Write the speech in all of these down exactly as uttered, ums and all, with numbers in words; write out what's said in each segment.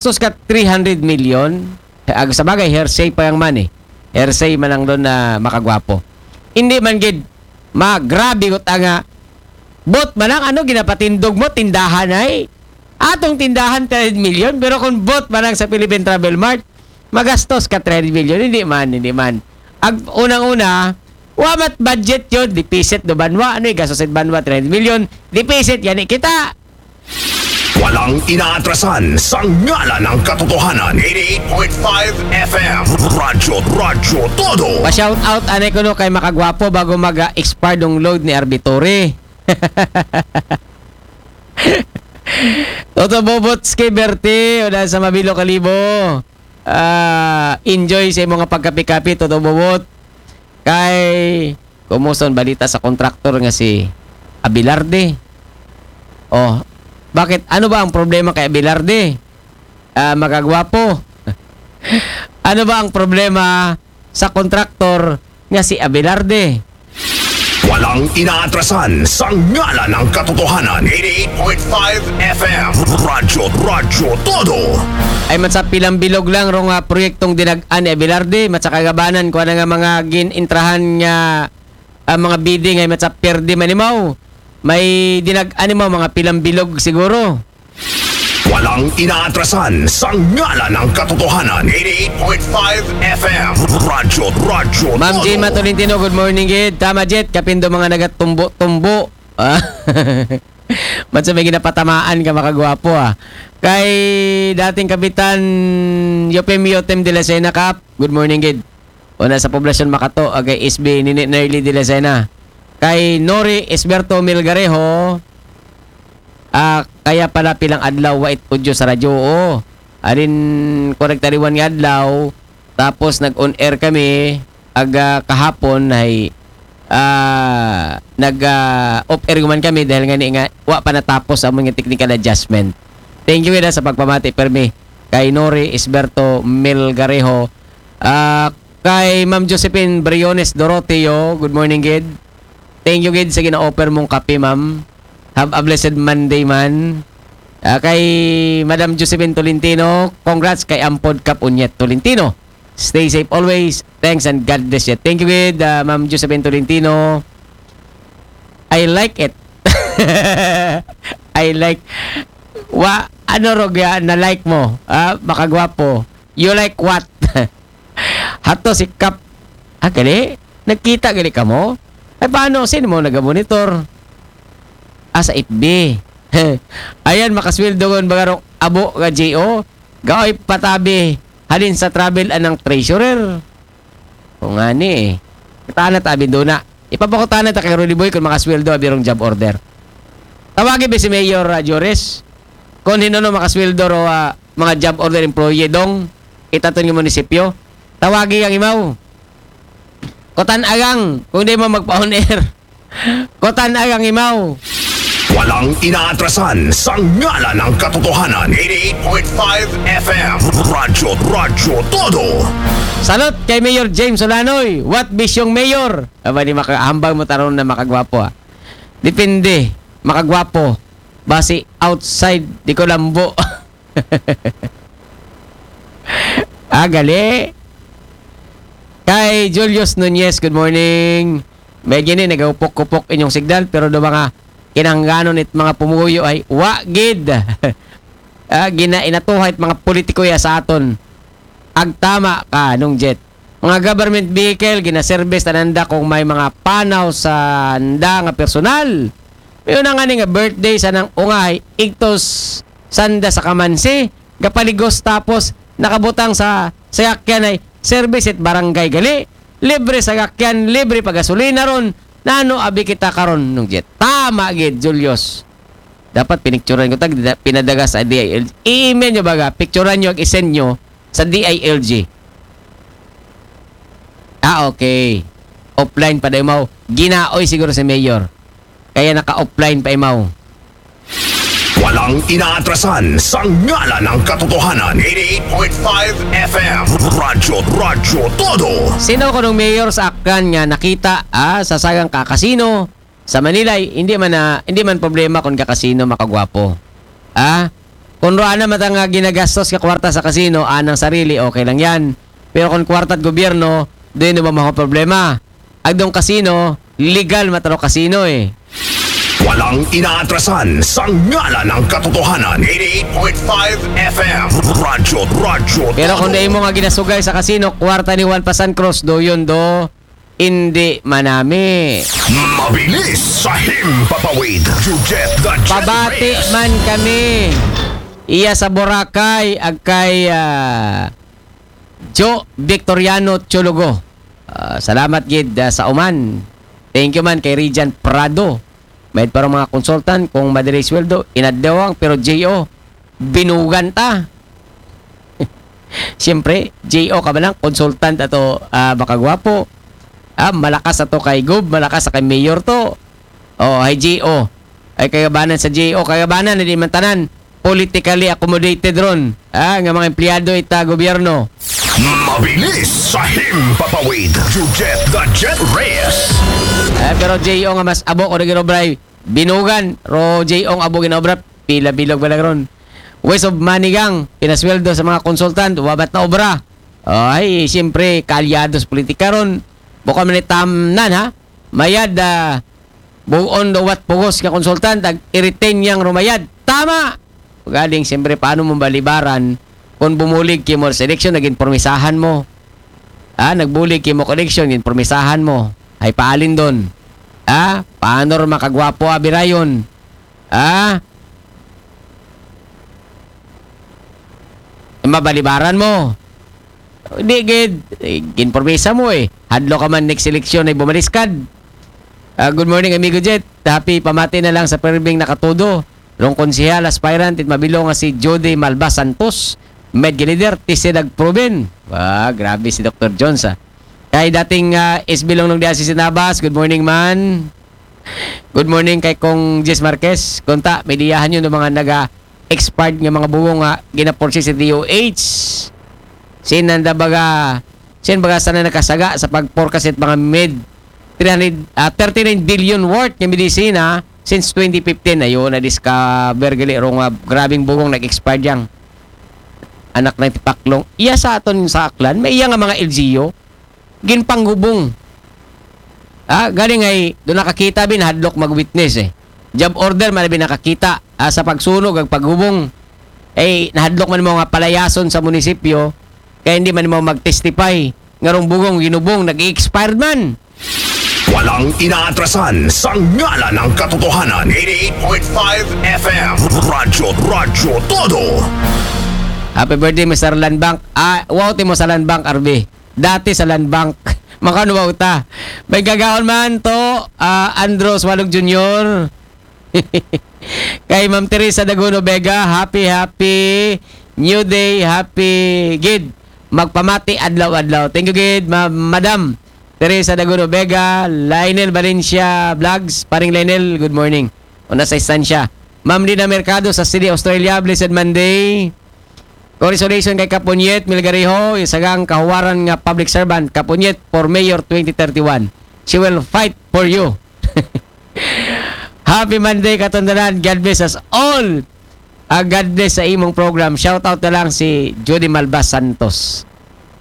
magastos ka three hundred million, ag sa bagay, hearsay pa yang money. Hearsay man ang doon na makagwapo. Hindi man gid, ma, grabe ko nga, bot man ang ano, ginapatindog mo, tindahan ay, atong tindahan, three hundred million, pero kung bot man ang sa Philippine Travel Mart, magastos ka three hundred million, hindi man, hindi man. Ag unang-una, wa mat budget yun, deficit do banwa, ano yung gastos sa banwa, three hundred million, deficit, yan kita. Walang inaatrasan sa ngalan ng katotohanan. eighty-eight point five F M. Radyo, Radyo Todo. Pa-shout out anay ko no kay makagwapo bago mag-expire dong load ni Arbitore. Toto Bobot Ski Berti, o sa Mabilo Kalibo. Ah, enjoy sa imong pagkapi-kapi, Toto Bobot. Kay, kumusta ang balita sa kontraktor nga si Abelarde? Oh, bakit? Ano ba ang problema kay Abelarde? Ah, makagwapo. Ano ba ang problema sa kontraktor nga si Abelarde? Walang inaatrasan sa ngalan ng katotohanan. eighty-eight point five F M. Radyo, Radyo Todo. Ay, matsa pilang bilog lang rong ah, proyektong dinag-an ni Abelarde, matsa kagabanan ko na nga mga gin-intrahan nga ah, mga bidding ay matsa pierde manimaw. May dinag-an nimaw mga pilang bilog siguro. Walang inaatrasan sa ngalan ng katotohanan. eighty-eight point five F M. Radyo, Radyo Ma'am Todo. Jema Tolentino, good morning gid. Tama jet, kapindo mga nagatumbo-tumbo. Ah. Matsa may ginapatamaan ka makagwapo ah. Kay dating kapitan Yopem Yotem de la Sena Kap, good morning gid. Una sa poblasyon Makato, agay S B Nini Nerly de la Sena. Kay Nori Esberto Milgarejo, ah, kaya pala pilang adlaw wa it audio sa radyo. Oo. Arin correct tariwan nga adlaw, tapos nag-on air kami aga kahapon ay ah, nag ah, off air man kami dahil nga ni nga wa pa natapos amon nga technical adjustment. Thank you gid sa pagpamati permi kay Nori Esberto Melgarejo. Ah, kay Ma'am Josephine Briones Doroteo, good morning gid. Thank you gid sa gina-offer mong kape, ma'am. Have a blessed Monday man. Ah, kay Madam Josephine Tolentino, congrats kay Ampod Kap Unyet Tolentino. Stay safe always. Thanks and God bless you. Thank you gid, ah, Ma'am Josephine Tolentino. I like it. I like wa ano rog ya na like mo? Ah, makagwapo. You like what? Hato si Kap. Ah, gali? Nagkita gali kamo? Ay, paano? Sino mo nagamonitor? Ah, sa F B. Ayan, makasweldo ngon bagarong abo nga J O. Gaoy patabi. Halin sa travel anang treasurer. O nga ni eh. Katana tabi doon na. Ipapakutana ta kay Rudy Boy kung makasweldo abirong job order. Tawagi ba si Mayor uh, Joris? Kung hinuno makasweldo ro uh, mga job order employee dong itaton ng munisipyo. Tawagi ang imaw. Kotan agang kung di mo magpa-on air. Kotan agang imaw. Walang inaatrasan sa ngalan ng katotohanan. eighty-eight point five F M. Radyo, Radyo Todo. Salot kay Mayor James Olanoy. What bisyong mayor? Aba ni makahambang mo taron na makagwapo ah. Depende. Makagwapo. Basi outside di ko lambo. Ah, gali. Kay Julius Nunez, good morning. May gini, nagahupok-hupok inyong signal, pero do mga kinangganon it mga pumuyo ay wa gid. Ah, gina inatuhay it mga politiko ya sa aton. Agtama ka, nung jet. Mga government vehicle, ginaservice tananda kung may mga panaw sa nda nga personal. May una nga ni nga birthday sa nang ungay, igtos sanda sa kamansi, gapaligos tapos nakabutang sa sayakyan ay service at barangay gali, libre sa gakyan, libre pagasolina ron, nano abi kita karon nung jet. Tama gid, Julius. Dapat pinicturan ko tag pinadaga sa D I L G. I-email nyo baga, picturan nyo, ag-isend nyo sa D I L G. Ah, okay. Offline pa daw mo. Ginaoy siguro si Mayor. Kaya naka-offline pa imaw. Walang inaatrasan sa ngalan ng katotohanan. eighty-eight point five F M. Radyo, Radyo Todo. Sino ko nung mayor sa Aklan nga nakita ah, sa sagang kakasino sa Manila, hindi man na, hindi man problema kung kakasino makagwapo. Ah? Kung roon na matang nga ginagastos ka kwarta sa kasino, anang sarili, okay lang yan. Pero kung kwarta't gobyerno, doon naman mga problema. Agdong kasino, legal mataro kasino eh. Walang inaatrasan sa ngalan ng katotohanan. eighty-eight point five F M. Radyo, Radyo. Pero kung dahil mo nga ginasugay sa kasino, kwarta ni Juan Pasan Cruz, do yun do, hindi manami. Mabilis sa himpapawid. Jujet the Jet Pabati Reyes. Man kami. Iya sa Boracay, ag kay ah, Joe Victoriano Chulugo. Ah, salamat gid ah, sa uman. Thank you man kay Regent Prado. May parang mga consultant kung madali sweldo, inadawang pero J O, binugan ta. Siyempre, J O ka ba lang, consultant ato ah, makagwapo. Ah, malakas ato kay Gob, malakas sa kay Mayor to. Oh, ay J O. Ay kagabanan sa J O, kagabanan na di man tanan politically accommodated ron. Ah, nga mga empleyado ita gobyerno. Mabilis sa himpapawid. Jujet the Jet Reyes. Eh, pero J O nga mas abo ko na ginobray binugan. Ro J O nga abo ginobra, pila bilog ba lang ron. Waste of money gang, pinasweldo sa mga consultant, wabat na obra. Ay, siyempre, kaalyado sa politika ron. Bukod man itamnan, ha? Mayad, ah, buon do wat pugos nga consultant, ag i-retain yang rumayad. Tama! Galing, siyempre, paano mo balibaran kung bumulig kimo sa eleksyon, naging promisahan mo? Ah, nagbulig kimo sa eleksyon, naging promisahan mo. Ay, paalin doon. Ah, paano rin makagwapo abirayon? Ah? Mabalibaran mo. Di gid, eh, ginpromesa mo eh. Hadlo ka man next eleksyon ay bumaliskad. Ah, good morning, amigo Jet. Happy pamati na lang sa Perming Nakatudo. Rong konsehal aspirant it mabilo nga si Jody Malba Santos. Med leader, tisid ag proven. Ah, grabe si Doctor Jones ah. Kay dating ah, S B Longlong di si Sinabas. Good morning man. Good morning kay Kong Jess Marquez. Kunta, may diyahan yun ng mga naga-expired nga mga bugong nga ginaporsi sa D O H. Sinanda baga, sin baga sana nakasaga sa pag-forecast it mga med three hundred, ah, thirty-nine billion worth nga medisina since twenty fifteen. Ayun, na-discover gali rong ah, grabing bugong nag-expired yang anak ng tipaklong. Iya sa aton sa Aklan, may iya nga mga L G U, ginpanghubong. Ah, galing ay doon nakakita bin hadlok mag-witness eh. Job order man bin nakakita ah, sa pagsunog ag paghubong. Eh, nahadlok man mo nga palayason sa munisipyo, kaya hindi man mo mag-testify. Nga rong bugong ginubong, nag-expired man. Walang inaatrasan sa ngalan ng katotohanan. eighty-eight point five F M. Radyo, Radyo Todo. Happy birthday, Mister Land Bank. Ah, wow, timo sa Land Bank, R B. Dati sa Land Bank. Makanuwaw ta. May gagaon man to, ah, Andros Walog Junior. Kay Ma'am Teresa Daguno Vega, happy, happy New Day, happy gid. Magpamati adlaw-adlaw. Thank you gid, Ma- Madam Teresa Daguno Vega, Lionel Valencia Vlogs, paring Lionel, good morning. Una sa istansya. Ma'am Lina Mercado sa Sydney, Australia, blessed Monday. Congratulations kay Kapunyet Milgariho, isagang kahuwaran nga public servant, Kapunyet for Mayor twenty thirty-one. She will fight for you. Happy Monday, katundanan. God bless us all. Ah, God bless sa imong program. Shout out na lang si Judy Malva Santos.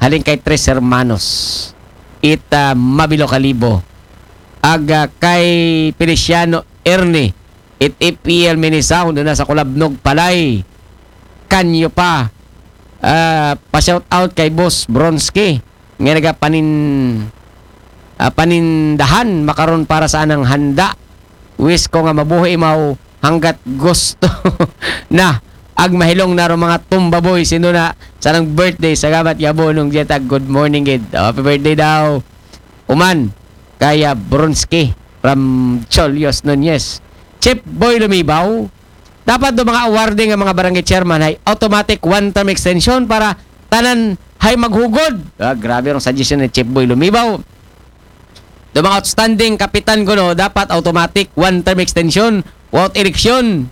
Haling kay Tres Hermanos. It ah, Mabilo Kalibo. Aga kay Feliciano Ernie. It F E L Minisound na sa Kulabnog Palay. Kanyo pa. Ah, pa-shout out kay Boss Bronski. Nga nagapanin ah, panindahan makaron para sa anang handa. Wish ko nga mabuhi imaw hanggat gusto na ag mahilong na ro mga tumbaboy sino na sa nang birthday sa gamat yabo nung jetag good morning gid. Oh, happy birthday daw. Uman kaya Bronski from Cholios Nunez. Chip Boy Lumibaw, dapat do mga awarding nga mga barangay chairman hay automatic one-term extension para tanan hay maghugod. Ah, grabe ang suggestion ni Chief Boy Lumibaw. Do mga outstanding kapitan ko no, dapat automatic one-term extension without election.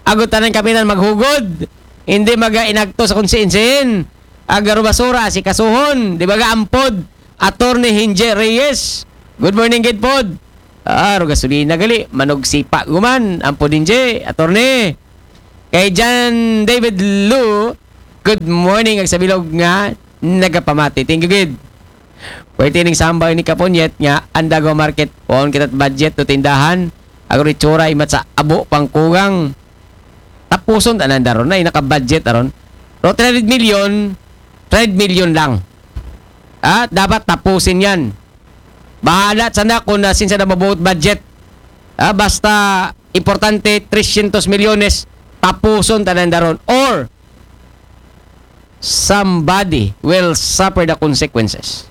Ago tanan kapitan maghugod. Hindi maga inagto sa konsiyensihin. Agaro basura si kasuhon. Di ba ga ampod? Attorney Hinje Reyes. Good morning, gid pod. Ah, ro gasolina gali, manog sipa guman, ang podinje, attorney. Kay John David Lu, good morning, ag sa bilog nga nagapamati. Thank you, gid. Pwerte ning sambahay ni Kapunyet nga Andago Market, waon kita budget do tindahan. Agro itsura imat sa abo pangkugang. Tapuson tanan daron na, naka-budget aron. Pero three hundred million, three hundred million lang. Ah, dapat tapusin yan. Bahala sa na kung na sinsa na mabuot budget. Ah, basta importante, trescientos milyones, tapuson tanan daron. Or, somebody will suffer the consequences.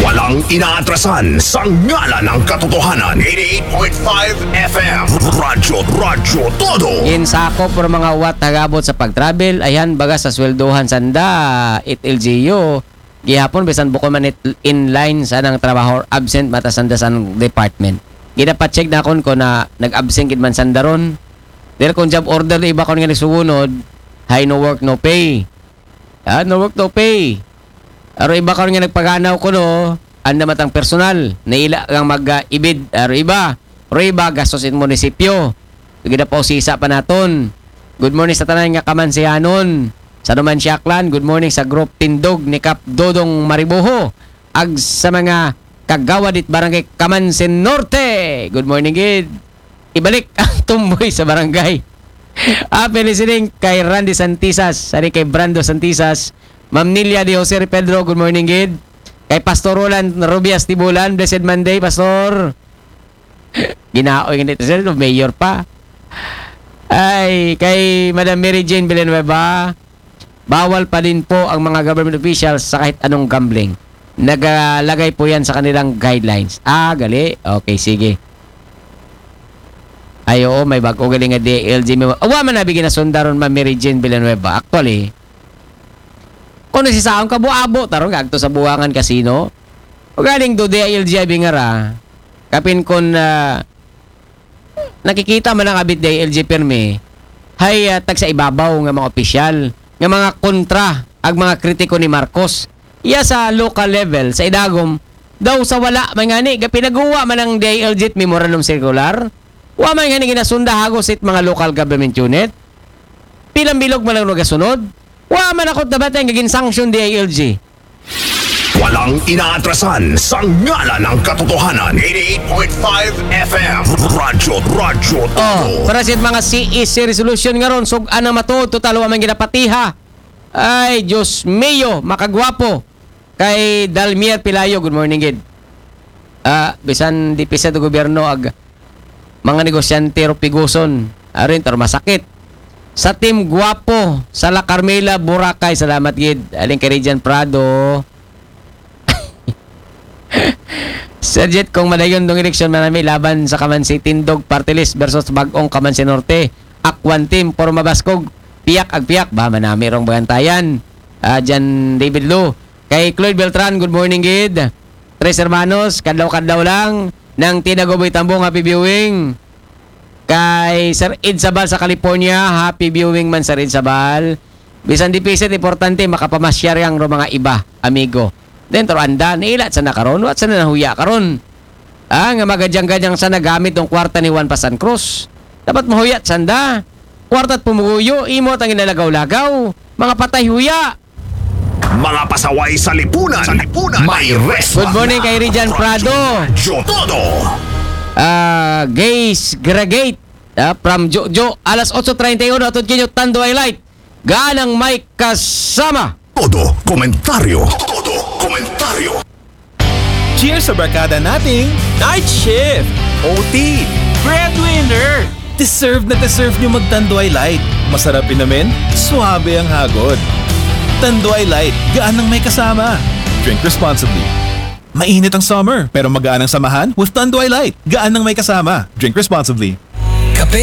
Walang inaatrasan sa ngalan ng katotohanan. eighty-eight point five F M. Radyo, Radyo Todo. Ginsakop por mga uwat hagabot sa pag-travel, ayan baga sa sweldohan sanda, it L G U. Gihapon, bisan bukod man it inline sa nang trabaho, absent mata sanda sa department. Ginapacheck na akon ko na nag-absent gid man sanda ron. Dahil kung job order, iba ko nga nagsugunod, hay no work, no pay. Ah, no work, no pay. Aro iba karon nga nagpaganaw ko, no, anda matang personal, naila kang mag-ibid, aro iba, aro iba, gastos in munisipyo. Gida pa usisa pa naton. Good morning sa tanan nga kamansihanon. Sa Numan Siaklan, good morning sa group Tindog ni Kap Dodong Mariboho. Ag sa mga kagawad it barangay Kamansin Norte. Good morning, gid. Ibalik ang tumboy sa barangay. Happy listening kay Randy Santisas, sari kay Brando Santisas, Ma'am Nilia de Jose Pedro, good morning, gid. Kay Pastor Roland Rubias Tibulan, blessed Monday, Pastor. Ginaoy nga nito, sir, mayor pa. Ay, kay Madam Mary Jane Villanueva, bawal pa din po ang mga government officials sa kahit anong gambling. Nagalagay po yan sa kanilang guidelines. Ah, gali. Okay, sige. Ay, oo, may bago galing nga D I L G. May, awa man nabi ginasundaron, Ma'am Mary Jane Villanueva. Actually, kung nasisaon ka, buabo, tarong agto sa Buangan Casino. O galing do D I L G ay bingara. Kapin kon, ah, nakikita man ang abit D I L G permi, hay, ah, tag sa ibabaw nga mga opisyal, nga mga kontra, ag mga kritiko ni Marcos. Iya sa local level, sa idagom, daw sa wala man ngani, ga pinaguwa man ang D I L G memorandum circular, wa man ngani ginasunda hagos it mga local government unit. Pilang bilog man ang nagasunod, wa man ako't nabati ang gagin sanction D I L G. Walang inaatrasan sa ngalan ng katotohanan. eighty-eight point five F M. Radyo, Radyo Todo. Oh, para sa mga C E C resolution nga ron, sug-an ang matuod, total wa man ginapatiha. Ay, Diyos mio, makagwapo. Kay Dalmier Pilayo, good morning, gid. Ah, bisan di pisa do gobyerno ag mga negosyante ro piguson. Arin, tar masakit. Sa Team Guapo, sa La Carmela, Boracay, salamat, gid. Aling kay Regine Prado. Sir Jet, kung madayon dong eleksyon, manami laban sa Kamansi Tindog Party List versus Bagong Kamansi Norte. Akwan team, porma baskog, piyak ag piyak, ba manami rong bagantayan. Ah, Jan David Lu. Kay Cloyd Beltran, good morning, gid. Tres Hermanos, kadlaw-kadlaw lang. Nang Tinagoboy Tambong, happy viewing. Kay Sir Ed Sabal sa California, happy viewing man, Sir Ed Sabal. Bisan di pisit, importante, makapamasyar yang ro mga iba, amigo. Then, taro anda, nailat sa na karon, wat sa na nahuya karon. Ah, nga magadyang-gadyang sa nagamit ng kwarta ni Juan Pasan Cruz. Dapat mahuyat sanda. Kwarta't pumuguyo, imo tang inalagaw-lagaw. Mga patay huya. Mga pasaway sa lipunan. Sa lipunan. May rest. Good morning kay Rijan Prado. Radyo Todo. Ah, Gays Gragate. Ah, from Jojo. Alas otso treinta y uno, atod kinyo, Tanduay Light. Ganang may kasama. Todo komentaryo. Todo komentaryo. Cheers sa barkada nating night shift, O T, breadwinner. Deserve na deserve nyo mag-Tanduay Light. Masarap inumin, suabe ang hagod. Tanduay Light, gaan ng may kasama. Drink responsibly. Mainit ang summer, pero magaan ang samahan with Tanduay Light. Gaan ng may kasama. Drink responsibly. Kape